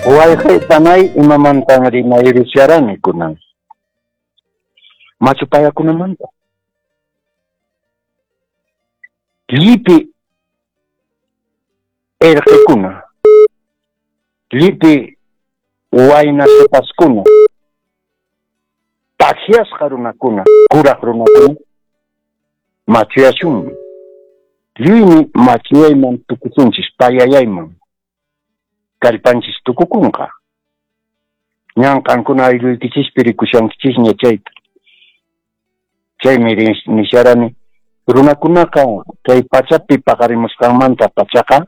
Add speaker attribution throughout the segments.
Speaker 1: Wayqey panay, imamantan rimayrusharani kunan? Machu payakunamanta. Llipi erqekuna, llipi wayna sipaskuna, takyasqa runakuna, kuraq runakuna, machuyasunmi. Lliwmi machuyayman tukusunchis, payayayman. Kallpanchis tukukunqa. Ñan qankuna aylluykichispi rikushankichisña chayta. Chaymi nisharani, runakunaqa kay pachapi paqarimusqanmanta pachaqa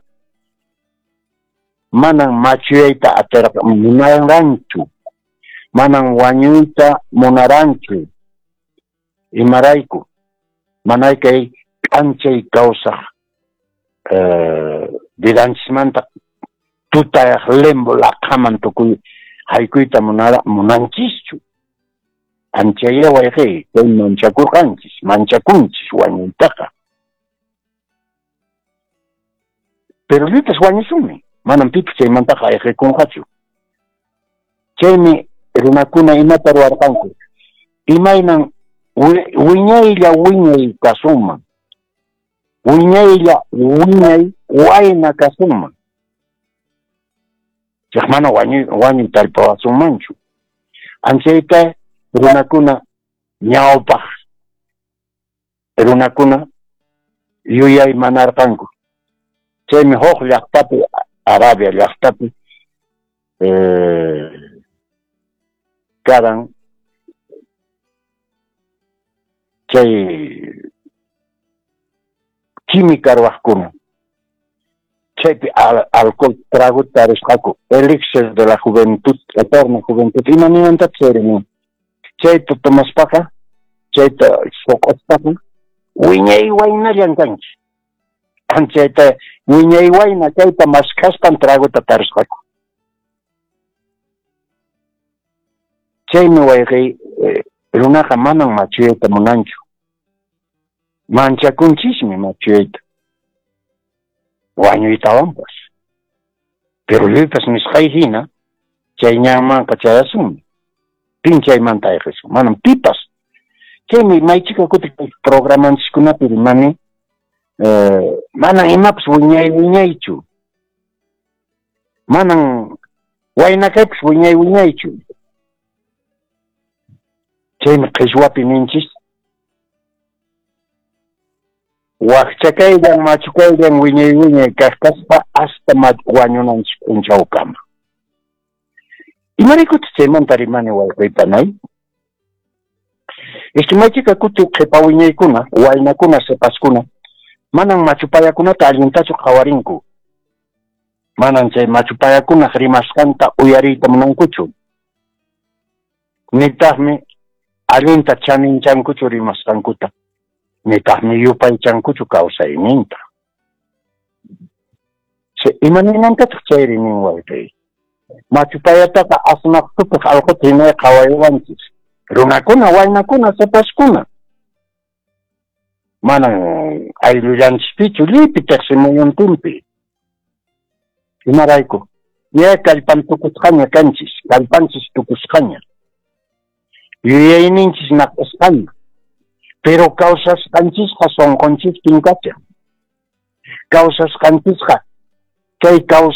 Speaker 1: manan machuyayta atirqa munaranchu, manan wañuyta munaranchu. Imarayku? Manay kay k'anchay kawsaq vidanchismanta tutayaq limbo laqhaman tukuy haykuyta munanchischu. Anchayá wayqey, kay manchakurqanchis, manchakunchis wañuytaqa. Pero lliwpas wañusunmi, manan pipas chaymantaqa ayqikunqachu. Chaymi runakuna imata ruwarqanku, imaynan wiñaylla wiñay kasunman, wiñaylla wiñay wayna kasunman. Chaq mana wañuy tallpawasunmanchu. Anchayta runakuna ñawpaq runakuna yuyaymanarqanku. Chaymi huk llaqtapi, Arabia llaqtapi, karan chay química ruwaqkuna. Chaypi alcohol trago tarisqaku, elixir de la juventud, eterna juventud. Ima ninantataq chayri nin? Chayta tomaspaqa, chayta suq'uspaqa, wiñay waynallan kanki. Chayta wiñay wayna kayta maskhaspan tragota tarisqaku. Chaymi wayqey, runaqa manan machuyayta munanchu. Manchakunchismi machuyayta, wañuytawanpas. Pero lluypas nisqay hina, chay ñanmanqa chayasunmi. Pin chaymanta ayqisun? Manam pipas. Chaymi maychika kuti programanchiskunapi rimani, manan imapas wiñay wiñaychu. Manan wayna kaypas wiñay wiñaychu. Chaymi qhichwapi ninchis, wakcha kayllan, machu kayllan, wiñay wiñay kaq kaspa hasta wañunanchis p'unchawkama. Imaraykutaq chaymanta rimani wayqey panay? Es que maychika kuti qhipa wiñaykuna, waynakuna, sipaskuna, manan machu payakunata allintachu qhawarinku. Manan chay machu payakunaq rimasqanta uyariyta munankuchu. Nitaqmi allinta chaninchankuchu rimasqankuta. Nitaqmi yupaychankuchu kawsayninta. Ima ninantataq chayri nin wayqey? Machu payataqa asnaq tupaq alquta hinay qhawaywanchis. Runakuna, waynakuna, sipaskuna. Manan ayllullanchispichu, lliwpi tiqsimuyuntinpi. Imarayku? Ña kallpan tukusqaña kanchis, kallpanchis tukusqaña. Yuyayninchis naq'asqaña. Pero kawsasqanchisqa sunqunchispin kashan. Kawsasqanchisqa kay